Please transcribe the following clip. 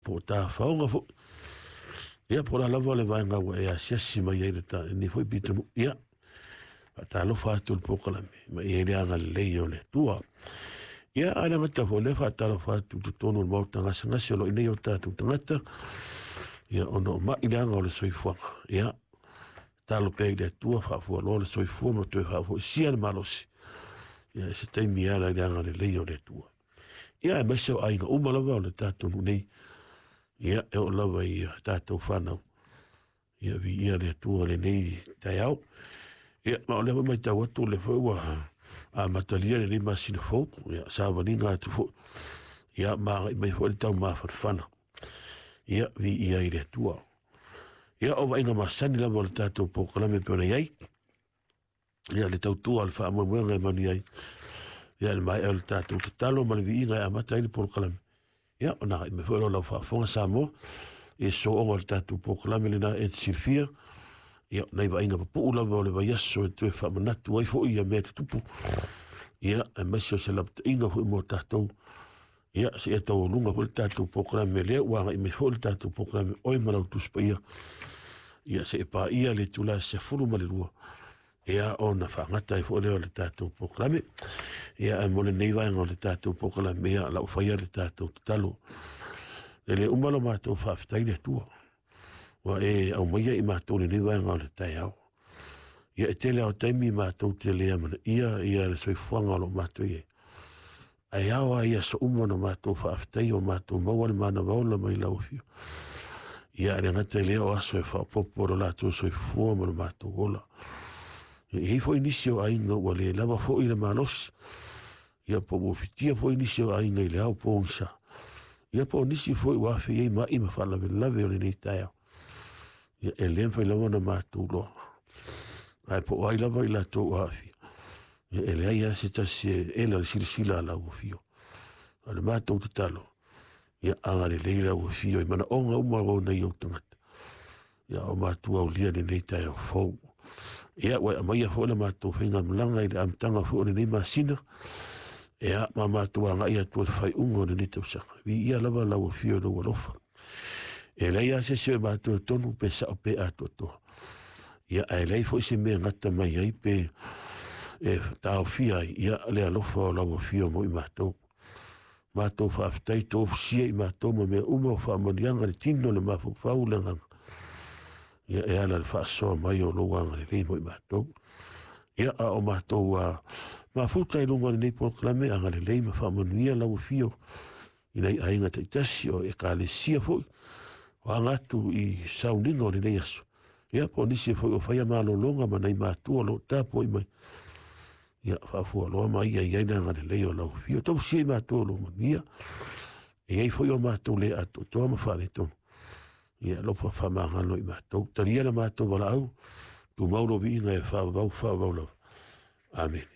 Po o tafaoga foi. Ia, po o le a lava le vaega ua e asiasi mai ai lenei foi pitonuu. Ia, faatalofa atu i le polokalame ma i ai le agalelei o le Atua. Ia, a le gata foi lea, faatalofa atu i totonu o le maota gasegase o lo o i nei o tatou tagata, ia, ona o mai leaga o le soifuaga. Ia, tatalo pea i le Atua, faafualoa le soifua ma toe faafoisia le malosi. Ia, i se taimi e ala i le agalelei o le Atua. Ia, aemaise o aiga uma lava o le tatou nuu nei. Ia, e oo lava i tatou fanau. Ia, viia le Atua lenei taeao. Ia, ma o lea foi matau atu, o lea foi ua amatalia lenei masina fou. Ia, savaliga atu foi. Ia, ma agai mai foi le taumafanafana. Ia, viia i le Atua. Ia, o vaaiga masani lava o le tatou polokalame e pei ona i ai. Ia, le tautua o le faamoemoega e manuia ai. Ia, le maea o le tatou tatalo ma le viiga e amata ai le polokalame. Ia, ona agai mai foi lea o lau faafofoga Samoa i le sooga o le tatou polokalame lena e te silafia. Ia, nai vaaiga pupuu lava o le vaiaso e toe faamanatu ai foi ia mea tutupu. Ia, aemaise o se lapataiga foi mo tatou. Ia, seia taualuga foi le tatou polokalame lea ua agai mai foi le tatou polokalame Oe ma lau Tusi Paia. Ia, seia paia le itula e 12, ia, ona faagata ai foi lea o le tatou polokalame. Ia, ae mo lenei vaega o le tatou polokalame, ia, lau faia le tatou tatalo. E le uma lo matou faafetai le Atua, ua e aumaia i matou lenei vaega o le taeao. Ia, e tele lava o taimi matou te le amanaia ia le soifuaga o lo o matou i ai. Ae ao lava i aso uma ona matou faafetai o matou maua le manava ola mai lau afio. Ia, e le gata i lea o aso e faaopoopo lo latou soifua ma lo matou ola. Ia, e i ai foi nisi o aiga ua le lava foi le malosi. Ia, po ua fitia foi nisi o aiga i le ao pogisa. Ia, po o nisi foi ua afe i ai mai ma faalavelave o lenei taeao. Ia, e le mafai lava ona matou iloa. Ae po o ai lava i latou ua aafia. Ia, e leai lava se tasi e ela le silasila a lau afio. O le matou tatalo, ia agalelei lau afio i manaoga uma o nai ou tagata. Ia, o matou aulia lenei taeao fou. Ia, ua e aumaia foi le matou faigamalaga i le amataga foi o lenei masina. Ia, ma matou agai atu i le faaiuga o lenei tausaga. Viia lava lau afio i lou alofa. E leai lava se isi o e matou e tonu pe sao pe atoatoa. Ia, ae leai foi se mea e gata mai ai pe e taofia ai, ia, le alofa o lau afio mo i matou. Matou faafetai tofusia i matou ma mea uma o faamanuiaga le tino, le mafaufau, le agaga. Ia, e ala le faasoa mai o lou agalelei mo i matou. Ia, a o matou mafuta i luga o lenei polokalame, agalelei ma faamanuia lau afio i nai aiga taitasi o ekalesia foi, o aga atu i sauniga o lenei aso. Ia, po o nisi foi o faia malologa ma nai matua o lo o tapuai mai. Ia, faafualoa ma ia i ai le agalelei o lau afio. Tausia i matou o lou manuia. E i ai foi o matou le atoatoa ma faaletonu. Ia, alofa faamagalo i matou. Talia le matou valaau, tumau lo viiga e faavavau faavavau lava. Amene.